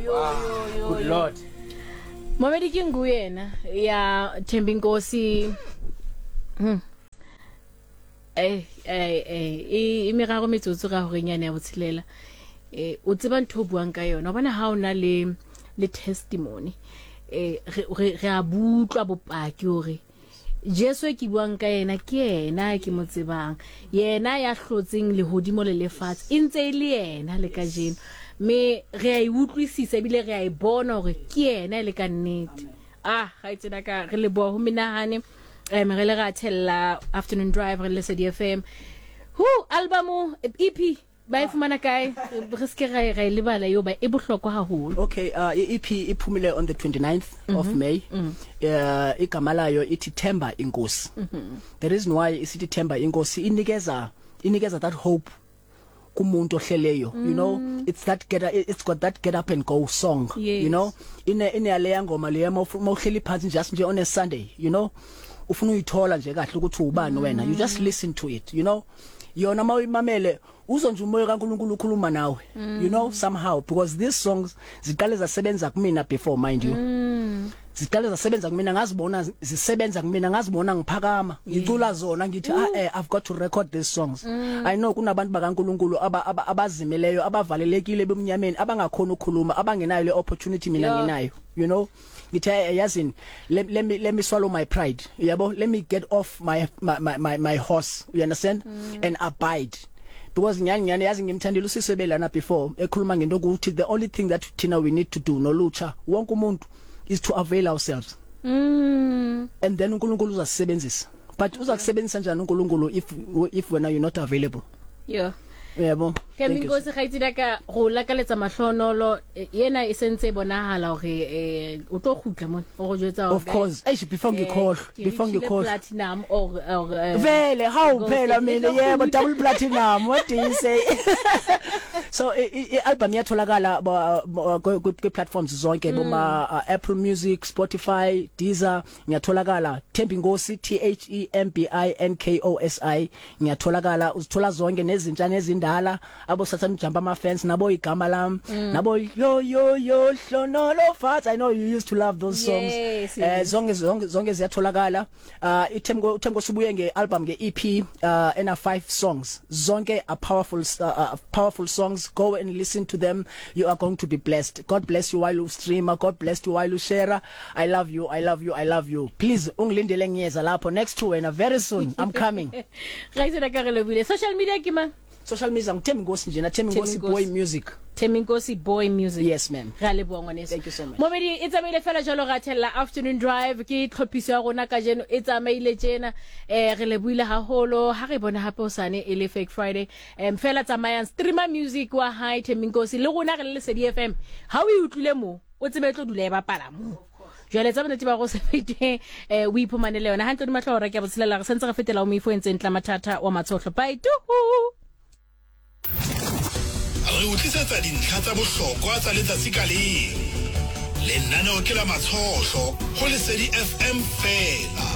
yo yo yo Good Lord. Momedi ke ngu yena ya Thembinkosi. Eh eh eh e e meraro metsotso ka horeng yane ya botshelela. Eh o tseba ntho o buang ka yona. O bona ha o na le le testimony. Eh re re re a butlwa bopaki hore Jesu e ke buang ka yena ke yena ke mo tsebang. Yena ya hlotseng lehodimo le lefatshe e ntse e le yena le kajeno. Mme re a e utlwisisa ebile re a e bona hore ke yena e le ka nnete. Ah, kgaitsedi ka re leboha ho menahane. Re le ra thella Afternoon Drive re le Lesedi FM. Hu album EP ba e fumana kae? Re se ke ra e ra e lebala eo ba e bohlokwa haholo. Okay, i-EP iphumile on the 29th mm -hmm. of May. Igama layo ithi Themba Inkosi. The reason why isithi Themba Inkosi, inikeza that hope kumuntu ohleleyo, you know, it's that get it's got that get up and go song. You know, ine yaleya ngoma leya mawuhleli phansi just nje on a Sunday, you know, ufuna uyithola nje kahle ukuthi ubani wena, you just listen to it, you know. Yona mawuyimamele uzwa nje umoya kaNkuluNkulu ukhuluma nawe, you know, somehow, because these songs ziqale zasebenza kumina before, mind you. Ziqale zasebenza kumina, ngazibona zisebenza kumina, ngazibona ngiphakama ngicula zona, ngithi, "Ah, I've got to record these songs." I know kunabantu bakaNkuluNkulu abazimeleyo, abavalelekile ebumnyameni, abangakhona ukukhuluma, abangenayo le opportunity mina nginayo, you know. Ngithi, "Yazini, let me swallow my pride, yabo, let me get off my horse," you understand, and abide, because nyani nyani, yazi, ngimthandile usisi belana before ekhuluma ngento ukuthi the only thing that thina we need to do nolutsha, wonke umuntu, is to avail ourselves and then uNkulunkulu uzasebenzisa. But uzakusebenzisa njani uNkulunkulu if wena you're not available? Yebo. Thembi Nkosi, kgaitsedi ka go lakaletsa mahlonolo. Yena e sentse e bonahala hore o tlo kgutla mona o go jwetsa. Of course. Eish, before ngikhohlwe, before ngikhohlwe, platinum or vele how phela mina, yebo, double platinum, what do you say? So i album iyatholakala kwi platforms zonke, boma Apple Music, Spotify, Deezer. Ngiyatholakala Thembinkosi, Thembinkosi. Ngiyatholakala, uzithola zonke, nezintsha nezindala, abo Sathane jump ama fans nabo, igama lami nabo, yo yo yo hlonolo fat. I know you used to love those songs. Zonke zonke zonke ziyatholakala. Ithemko uThemko sibuye ngealbum, ngeEP ena 5 songs, zonke are powerful songs. Go and listen to them, you are going to be blessed. God bless you while you stream, God bless you while you share. I love you, I love you, I love you. Please ungilindele, ngiyeza lapho next to wena very soon, I'm coming. Kgaitsedi ka re lebile. Social media ke mang? Social media nguThembi Nkosi nje na, Thembi Nkosi Boy Music. Thembi Nkosi Boy Music. Yes, ma'am. Re a leboha, ngwaneso. Thank you so much. Momedi e tsamaile fela jalo, ra thella Afternoon Drive ke tlhophiso ya rona kajeno, e tsamaile tjena. Re lebohile haholo, ha re bone hape hosane e le Fake Friday. Fela tsamayang, streamer music wa hae Thembi Nkosi, le rona re le Lesedi FM, ha o e utlwile mo o tsebe e tlo dula e bapala mo. Jwale tsa bonnete ba go se fete, o iphumanele yona hantle. Di mahlo hora ke ya botshelela, re sentse re fetela o moifo entseng tla mathata wa matshohlo. Bye tuhu. Re o tlisetsa dintlha tsa bohlokwa tsa letsatsi ka leng. Lenaneo ke la Matshohlo go Lesedi FM fela.